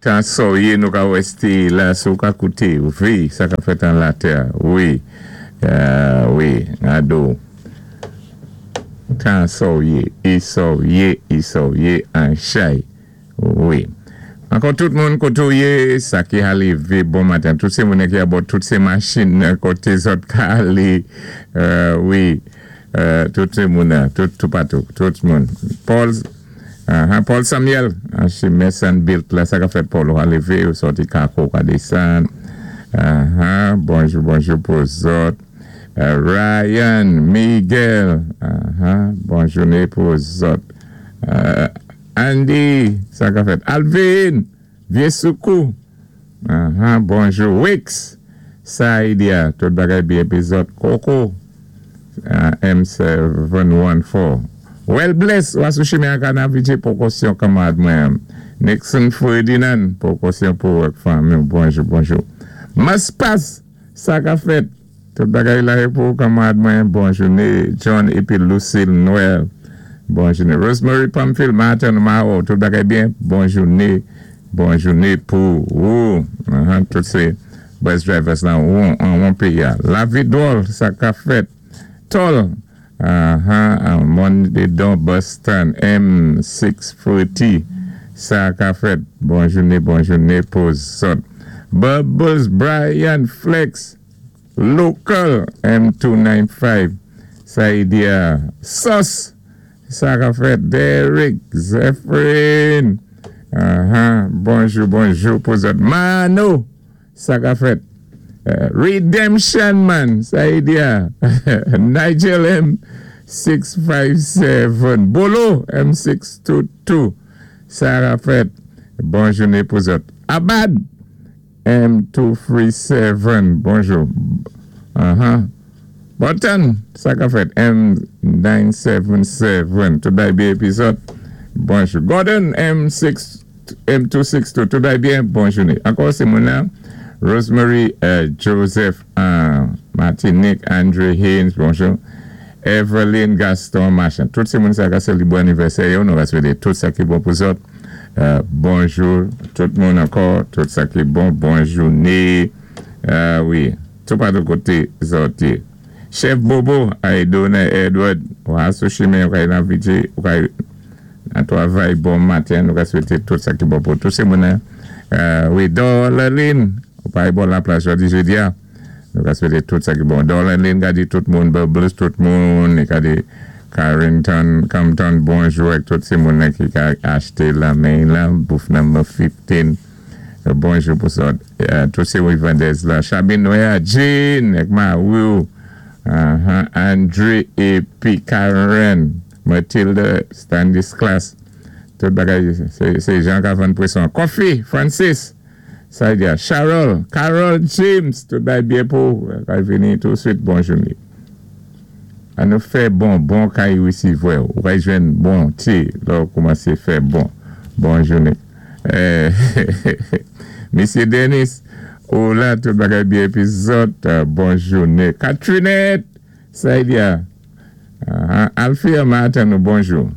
Tan sa-w yé, nou ka wè la, si ou ka kouté, wi, sa ka fèt an latè, wi, wi, ado. Tan sa-w yé, i sa-w yé, i sa-w yé, an chay, wi. Ankò tout moun koté ou yé, sa ki a lévé bon maten, tout sé moun ki abò tout sé machin koté zòt ka alé, wi, tout sé moun, tout toupatou, tout moun. Paul, Paul Samuel, an chimen Saint-Bilt la, sa ka fèt, Paul, ou a lévé, ou sòti Kako, ou ka désann. Bonjou, bonjou pou zòt. Ryan, Miguel, bon jouné pou zòt. Andy, sa ka fèt. Alvin, Vyé Soukou, bonjou. Wix, Saidia, tout bagay byen pi zòt. Coco, M714. Well bless, ou sou chimen an Kanavije, pwékosyon kanmarad mwen. Nixon Ferdinand, pwékosyon pou ak fanmi. Bonjou, bonjou. Maspas, sa ka fèt. Tout bagay la pou kanmarad mwen. Bon jouné. John épi Lucille Noël. Bon jouné. Rosemary Pamphile, Martin Mao, tout bagay byen. Bon jouné. Bon jouné pou ou. Tout sé bus drivers la, ou an péyi. La vie drôle, sa ka fèt. Tol, Mondedon Boston, M640, sa ka fèt. Bon jouné, bon jouné pou zòt. Bubbles, Brian, Flex, Local, M295, Saidia, Sos, sa ka fèt. Derek, Zephyrin, bonjou, bonjou pou zòt. Mano, sa ka fèt. Redemption Man, Saidia, Nigel M657, Bolo M622, sa ka fèt. Bon jouné pou zòt. Abad M237, bonjou. Button, sa ka fèt. M977, tout bagay byen épi zòt. Bonjou. Gordon M6 M262, tout bagay byen, bon jouné. Ankò sé moun la. Rosemary Joseph Martinique, Andre Haynes, bonjou. Evelyn Gaston Machin. Tout sé moun sa ka sélébwé anivèsè yo, nou va swété tout sa ki bon pou zòt. Bonjou tout moun ankò, tout sa ki bon, bon jouné. Wi, toupatou koté zòt yé. Chef Bobo, Aidona Edward, ou a sou chimen, ou ka nan vije, ou ka nan twavay, bon maten, nou ka swété tout sa ki bon pou tout sé moun. Wi, Dorlaline, ou pa bò la plaj jòdi jédi a. Nou ka swété tout sa ki bon. Dorlaline ka di tout moun, Bubbles tout moun, i ka di Carrington, Compton, bonjou ak tout sé moun ki ka achté la men la, booth number 15. Bonjou pou zòt. Tout sé Wivandez la. Chabine Noya, Jean, ak Marou, Andre épi Karen, Mathilde, Stanislas. Tout bagay, sé Jean ka vann pwéson. Coffee, Francis, sa di Charol, Carol James, tout bagay byen pou, kay vini touswit, bon jouné. An nou fè bon, bon kay wésivwè, ou kay jwenn bon ti, lò ou koumansé fè bon. Bon jouné. Mesye Denis, ou la, tout bagay byen épi zòt, bon jouné. Katrinette, sa di a, Alfia Martin, nou bonjou.